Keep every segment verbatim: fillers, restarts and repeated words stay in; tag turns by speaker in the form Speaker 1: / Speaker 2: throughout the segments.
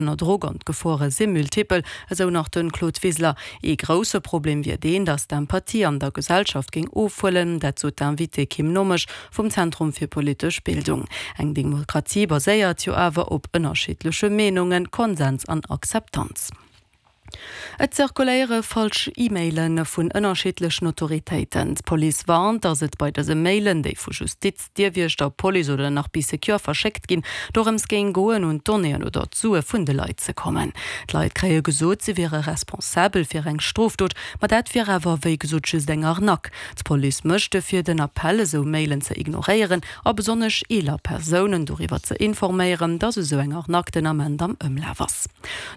Speaker 1: Ënner Drock an d'Gefore si multipel, esou nach de Claude Wiseler. Ee grousse Problem wier deen, datt d'Empathie an der Gesellschaft géing ofhuelen. Dat sot d'Invitée Kim Nommesch vum Zentrum fir politesch Bildung. Eng Demokratie baséiert jo awer op ënnerschiddleche Meenungen, Konsens an Akzeptanz. Et zirkuléiere falsch E-Maile vun ënnerschiddlechen Autoritéiten. D'Police warnt, datt et bei dëse Mailen, déi vu Justiz, Dierwiechter, Police oder nach Bee Secure verschéckt ginn, dorëms géing goen, un d'Donnéeën oder d'Sue vun de Leit ze kommen. D'Leit kréie gesot, si wiere responsabel fir eng Strofdot, ma dat wier awer wéi gesot just eng Arnaque. D'Police mécht dofir den Appell, esou Mailen ze ignoréieren a besonnesch eeler Persounen doriwwer ze informéieren, datt esou eng Arnaque den Ament am Ëmlaf ass.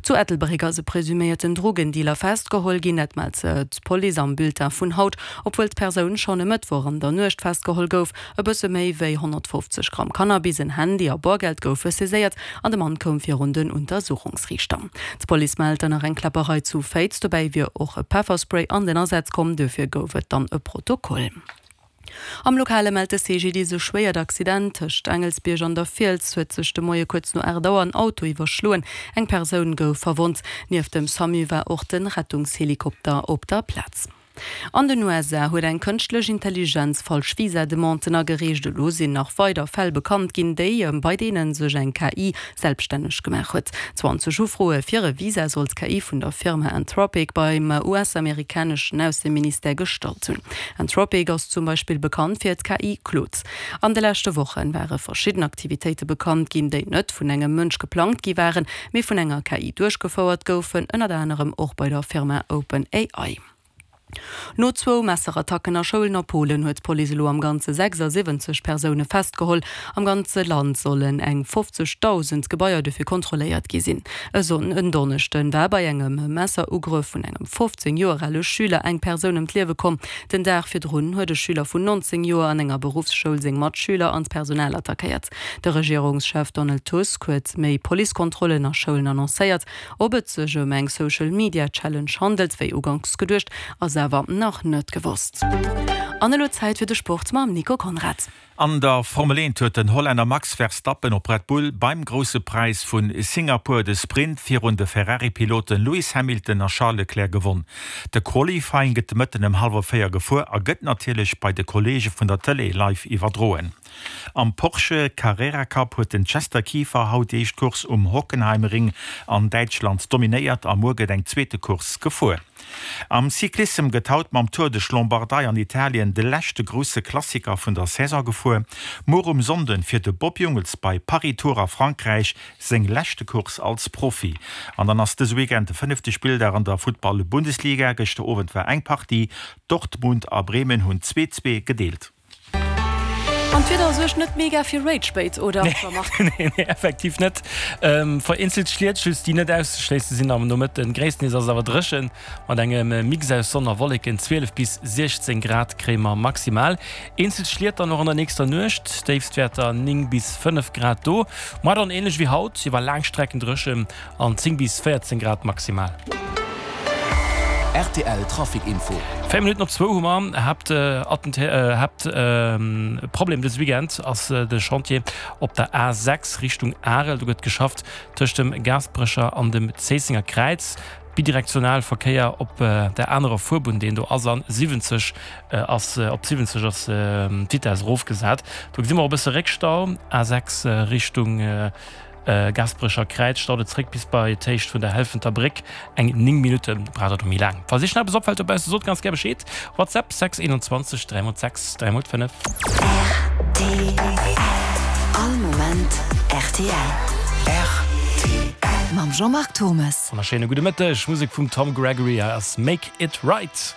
Speaker 1: Zu Ettelbréck ass e presuméierten Drogendealer festgeholl ginn. Dat mellt d'Police am Bulletin vun haut. Obwuel d'Persoun schonn e Mëttwoch an der Nuecht festgeholl gouf. E bësse méi wéi honnertfofzeg Gramm Cannabis, en Handy a Boergeld goufe saiséiert an de Mann koum virun den Untersuchungsriichter. D'Police mellt dann nach eng Kläpperei zu Féiz. Dobäi wier och e Pefferspray an den Asaz komm, dofir gouf et dann e Protokoll. Am Lokale mellt de C G D I S e schwéiert Accident. Tëscht Aengelsbierg an der Fiels huet sech de Moie kuerz no aacht Auer en Auto iwwerschloen. Eng Persoun gouf verwonnt. Nieft dem SAMU war och de Rettungshelikopter op der Plaz. An den U S A huet eng kënschtlech Intelligenz falsch Visa-Demanden agereecht. Elo sinn nach weider Fäll bekannt ginn, déi bei deene sech eng K I selbstänneg gemaach huet. zwanzeg Ufroe fir e Visa soll d'K I vun der Firma Anthropic beim U S-amerikaneschen Ausseministère gestallt hunn. Anthropic ass zum Beispill bekannt fir d'K I Claude. An de leschte Woche ware verschidden Aktivitéite bekannt ginn, déi net vun engem Mënsch geplangt gi waren, mee vun enger K I duerchgefouert goufen, ënnert anerem och bei der Firma OpenAI. No zwou Messerattacken a Schoulen a Polen huet d'Police elo am Ganze sechsasiwwenzeg Persoune festgeholl. Am ganze Land sollen eng fofzegdausend Gebaier dofir kontrolléiert gi sinn. E Sonn en Donneschden war bei engem Messerugrëff vun engem fofzéng Joer ale Schüler eng Persoun ëm d'Liewe komm. Den Dag virdrun huet e Schüler vun nonzéng Joer an enger Beruffsschoul seng Matschüler an d'Personal attackéiert. De Regierungschef Donald Tusk huet méi Policekontrollen a Schoulen annoncéiert. Ob et sech ëm eng Social-Media-Challenge handelt, wéi uganks geduecht, ass awer nach net gewosst. An elo Zäit fir de Sport mam Nico Conrad.
Speaker 2: An der Formel eent huet den Hollänner Max Verstappen op Red Bull beim Grousse Präis vu Singapur de Sprint virun de Ferrari-Piloten Lewis Hamilton a Charles Leclerc gewonn. De Qualifying gëtt de Mëtten ëm hallwer véier gefuer a gëtt natierlech bei de Kolleege vun der Tëlee live iwwerdroen. Am Porsche Carrera Cup huet den Chester Kieffer haut déi éischt Course um Hockenheimring an Däitschland dominéiert a muer gëtt eng zweete Course gefuer. Am Cyclissem gëtt haut mam Tour de Lombardei an Italien de leschte grousse Klassiker vun der Saison gefuer. Muer um Sonnden fiert de Bob Jungels bei Paris-Tours a Frankräich seng leschte Course als Profi. An dann ass dëse Weekend de fënnefte Spilldag an der Futtball-Bundesliga. Gëschter Owend war eng Partie, Dortmund a Bremen hunn zwee zwee gedeelt.
Speaker 1: An d'Wieder suergt net mega fir Rage-Bait, oder Jean-Marc?
Speaker 3: Nee, nee, effektiv net. Ähm, vereenzelt Schliet just, déi net auszeschléisse sinn am Nomëtten. Gréisstendeels ass et awer dréchen, mat engem Mix aus Sonn a Wolleken. zwielef bis siechzéng Grad kréie mer maximal. Eenzel Schliet dann och an der nächster Nuecht, Déifstwäerter néng bis fënnef Grad do. Muer dann änlech wéi haut, iwwer laang Strecken dréchen an zéng bis véierzéng Grad maximal.
Speaker 4: R T L Trafic Info.
Speaker 3: Véier Minutten op zwou hu mer. Haapt Haapt Problem dëse Weekend ass de Chantier op der A sechs Richtung Arel. Do gëtt geschafft tëscht dem Gaasperecher an dem Zéissenger Kräiz. Bidirektional Verkéier op der anerer Fuerbunn, deen do ass an siwwenzeg ass op siwwenzeg ass d'Vitess erofgesat. Do gesi mer och e bësse Réckstau. A sechs Richtung Gaasperecher Kräiz staut et zréck bis bei d'Héicht vun der Helfenter Bréck, eng néng Minutte braucht der do méi laang. Falls Iech nach eppes opfält dobausse, sot ganz gär Bescheed. WhatsApp sechs einundzwanzeg dräi mol sechs dräi mol fënnef.
Speaker 5: R T L. All Moment R T L.
Speaker 4: R T L.
Speaker 5: Mam Jean-Marc Thommes.
Speaker 3: Wonnerschéine gudde Mëtteg. Musek vum Tom Gregory ass Make It Right.